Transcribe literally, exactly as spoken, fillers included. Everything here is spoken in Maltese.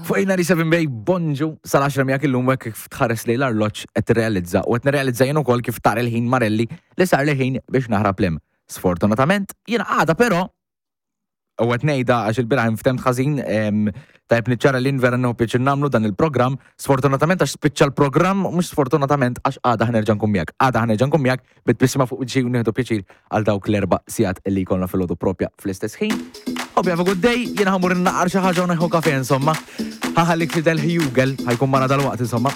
Fuq eight ninety-seven Bay, bonġu, sal-għaxra miegħek illum, hekk kif tħares lejn l-arloġġ qed tirrealizza u qed nirrealizza jien ukoll kif tar il-ħin Marelli li sar li ħin biex naħrab lem. Sfortunatament, jiena għada però u qed ngħidha għax il-bieraħ nftemt ħażin, em, tajb niċċara li vera nieħu pjaċir nagħmlu dan il-programm, sfortunatament għax spiċċa l-programm, mhux sfortunatament għax għada ħa nerġa' nkun miegħek. Għada ħa nerġa' nkun miegħek bit-tbissima fuq wiċċi u nieħdu pjaċir għal dawk l-erba' sigħat li jkollna filgħodu propja fl-istess ħin. Hope you have a good day, jiena ħa mmur naqra xi ħaġa u nieħu kafe insomma. Ħa nħallik Fidel Hugel, ħa jkun magħna dalwaqt insomma.